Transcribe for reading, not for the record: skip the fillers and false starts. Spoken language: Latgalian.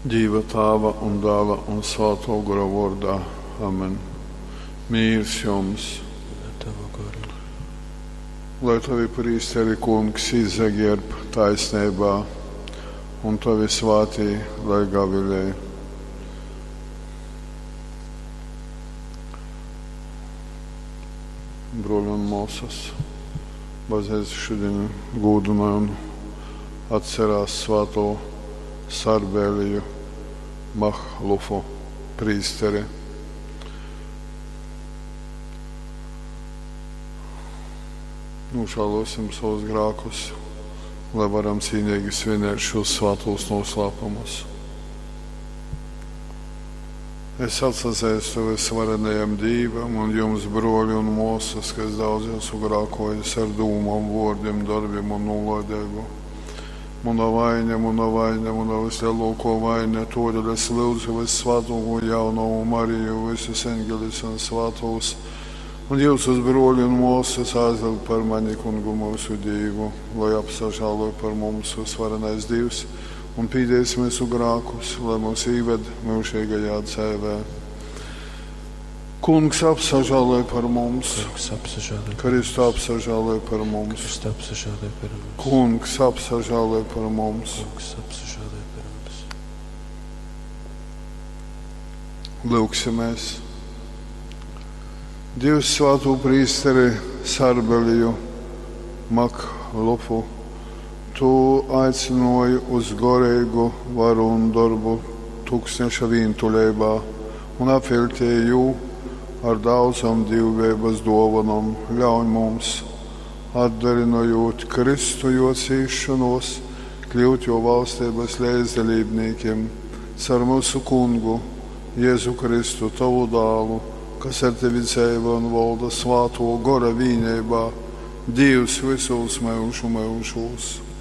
Dīva Tāva un Dāla un Svātō Gora vōrdā. Amen. Mīrs jums! Un ar tavu goru. Lai tavi prīsteri, Kungs, izagierb taisneibā, un tavi svātī lai gavilej. Bruoļi un muosys, bazneica šodien gūdynoj un atcerās svāto Sarbēliju Mahlufu prīsteri. Nožēlosim savus grēkus, lai varam cīnīgi svinēt šos svātos noslēpumus. Es atsazīstu visvarenajam Dīvam un jums, broļi un māsas, ka es daudz esmu grēkojis ar dūmām, vārdiem, darbiem un nolaidību. Mana vaina, mana vaina, mana vislielāko vaina, todēļ es lūdzu vissvētāko jaunavu Mariju, visus eņģeļus un svētos, un jūsus broļi un māsas aizlūdz par mani, kungu mūsu Dievu, lai apsažālo par mums visvarenais Dievs un pīdēs mūsu grēkus, lai mūs īved mūžīgajā dzīvē. Kungs apsažāloj par mums, Kungs apsažāloj par Kristu apsažāloj par mums, Kristu apsažāloj par mums. Kungs apsažāloj par mums. Kungs apsažāloj par mums. Lūksimies. Dievs svāto prīsteri Sarbeliju Maklufu, tu aicināji uz gorīgu varu un darbu tūkstneša vientuļībā un apveltīji jū ar daudzām dievbijības dovanām. Ļauj mums, atdarinojot Kristu jo cīšanos, kļūt jo valstības līdzdalībniekiem caur mūsu kungu Jēzu Kristu, tavu dālu, kas ar tevi dzīvo un valda svāto gora vīnībā, Dievs visos mūžu mūžos.